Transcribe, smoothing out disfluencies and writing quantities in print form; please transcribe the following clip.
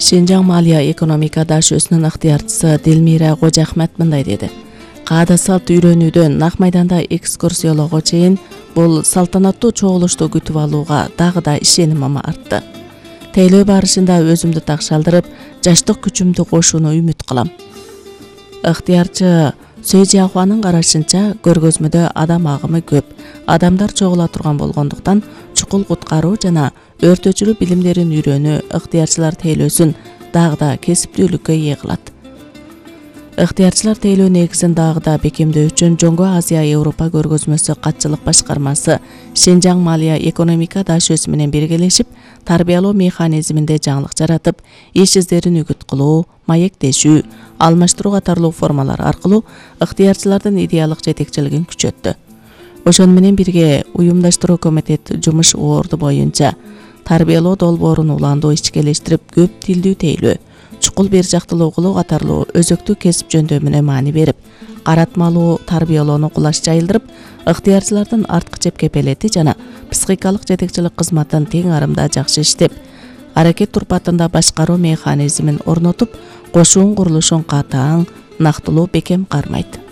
Шинжаң Малия экономика дашөсүнүн ыктыярчысы Дилмира Кожахмет мындай деди. Каада салт үйрөнүүдөн нак майданда экскурсиялоого чейин бул салтанаттуу чогулушту күтүп алууга дагы да ишенимим артты. Тейлөө барышында өзүмдү такшалдырып, жаштык күчүмдү кошууну үмүт кылам. Ыктыярчы Сөйжахуанын карашынча, көргөзмөдө адам агымы көп, адамдар чогула турган болгондуктан чукул куткаруу жана өртөөчүлүк билимдерин үйрөнүү ыктыярчылар тейлөөсүн дагы да кесиптүүлүккө ээ кылат. Ыктыярчылар тейлөө негизин дагы да бекемдөө үчүн Жоңго Азия Европа көргөзмөсү катчылык башкармасы Шинжаң Малия экономика дашөсү менен биргелешип, тарбиялоо механизминде жаңылык жаратып, иш издерин үгүт кылуу, маектешүү, алмаштыруу катарлуу формалар аркылуу ыктыярчылардын идеялык жетекчилигин күчөттү. Ошону менен бирге уюмдаштыруу комитет жумуш орду боюнча тарбиялоо долбоорун уландуу ичкелештирип, көп тилдүү тейлөө, чукул бир жактылуу кылуу катарлуу өзөктүү кесип жөндөмүнө маани берип, каратмалуу тарбиялоону кулаш жайылдырып, ыктыярчылардын арткы чепкепелети жана психикалык жетекчилик кызматын тең арымда жакшы иштеп, аракет турпатында башкаруу механизмин орнотуп, кошуун курулушун катаң, нактылуу бекем кармайт.